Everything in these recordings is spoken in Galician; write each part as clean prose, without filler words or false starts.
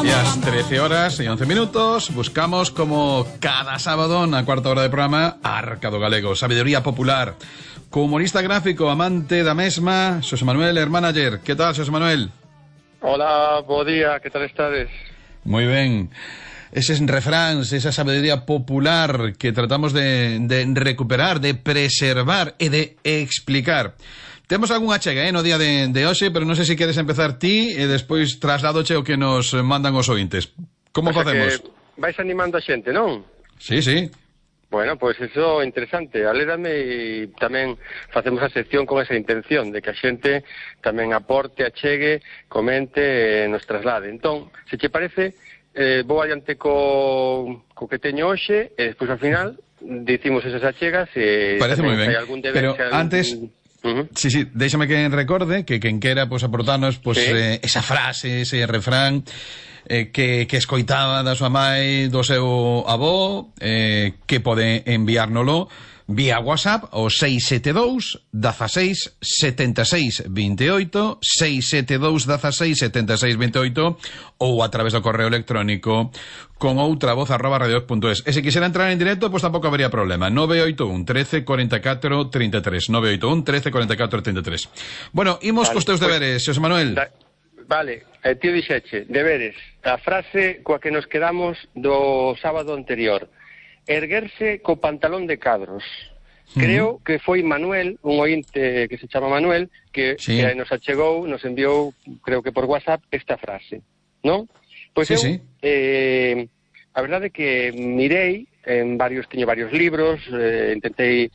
E ás 13 horas e 11 minutos buscamos como cada sábado na cuarta hora de programa Arca do Galego, sabiduría popular. Co humorista gráfico, amante da mesma, Xosé Manuel Hermanager. Que tal, Xosé Manuel? Hola, bo día, que tal estades? Moi ben. Eses refráns, esa sabiduría popular que tratamos de recuperar, de preservar e de explicar. Temos algunha chega, no día de hoxe, pero non sei se queres empezar ti e despois trasladoche o que nos mandan os ointes. Como facemos? Que vais animando a xente, non? Sí, sí. Bueno, pois iso é interesante. Alérame e tamén facemos a sección con esa intención de que a xente tamén aporte, achegue, comente e nos traslade. Entón, se che parece, vou adiante co que teño hoxe e despois ao final dicimos esas achegas e parece moi ben. Pero antes... Sí, sí, déxame que recorde que quen quera aportarnos esa frase, ese refrán que escoitaba da súa mai, do seu avó, que pode enviárnolo vía WhatsApp o 672 16 76 28 672 16 76 28 ou a través do correo electrónico con outravoz@radiovoz.es. E se quixera entrar en directo, pois tampouco habería problema. 981 13 44 33 981 13 44 33. Bueno, imos cos teus deberes, Xosé Manuel. Vale, tío dixeche, deberes. A frase coa que nos quedamos do sábado anterior: erguerse co pantalón de cadros. Creo que foi Manuel, un ointe que se chama Manuel, que nos achegou, nos enviou, creo que por WhatsApp, esta frase, non? Pois a verdade é que mirei teño varios libros, intentei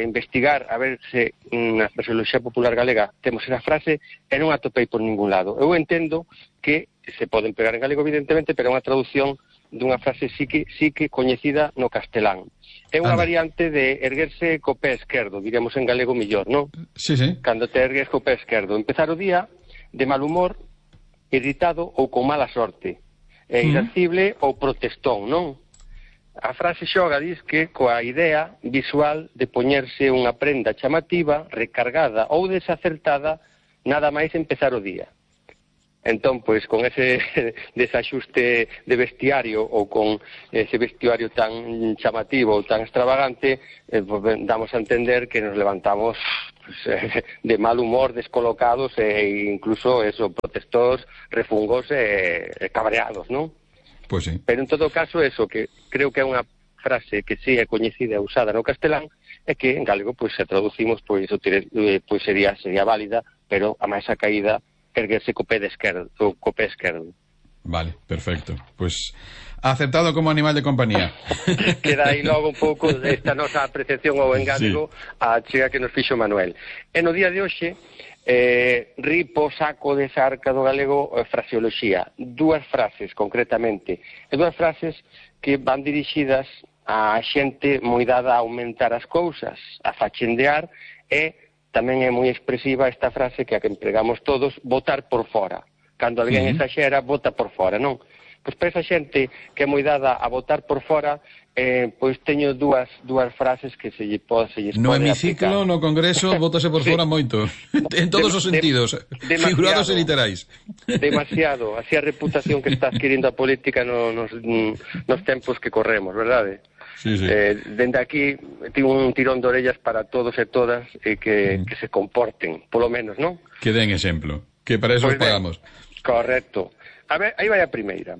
investigar a ver se na fraseoloxía popular galega temos esa frase e non a topei por ningún lado. Eu entendo que se poden pegar en galego, evidentemente, pero é unha traducción dunha frase sí que coñecida no castelán. É unha variante de erguerse co pé esquerdo, diríamos en galego millor, non? Sí, sí. Cando te ergues co pé esquerdo. Empezar o día de mal humor, irritado ou con mala sorte. Irascible ou protestón, non? A frase xoga diz que coa idea visual de poñerse unha prenda chamativa, recargada ou desacertada, nada máis empezar o día. Entón, pois, con ese desaxuste de vestiario ou con ese vestiario tan chamativo ou tan extravagante, damos a entender que nos levantamos de mal humor, descolocados e incluso protestos, refungos e cabreados, non? Pois sí. Pero en todo caso, que creo que é unha frase que sí é coñecida e usada no castelán e que en galego, pois, se traducimos, pois sería válida, pero a máis a caída erguerse co pé esquerdo. Vale, perfecto. Pois aceptado como animal de compañía. Queda aí logo un pouco esta nosa apreciación ao engadigo a chega que nos fixo Manuel. E no día de hoxe ripo saco desa Arca do Galego fraseoloxía. Dúas frases, concretamente. E dúas frases que van dirixidas a xente moi dada a aumentar as cousas, a fachendear e tamén é moi expresiva esta frase que a que empregamos todos, botar por fora. Cando alguén exaxera, bota por fora, non? Pois para esa xente que é moi dada a botar por fora, pois teño dúas frases que se lles pode aplicar. No hemiciclo, no congreso, bótase por fora moito. En todos os sentidos, figurados e literais. Demasiado, así a reputación que está adquirindo a política nos tempos que corremos, verdade? Sí, sí. Dende aquí tivo un tirón de orellas para todos e todas e que se comporten, polo menos, non? Que den exemplo, que para eso os pagamos. Correcto. A ver, aí vai a primeira.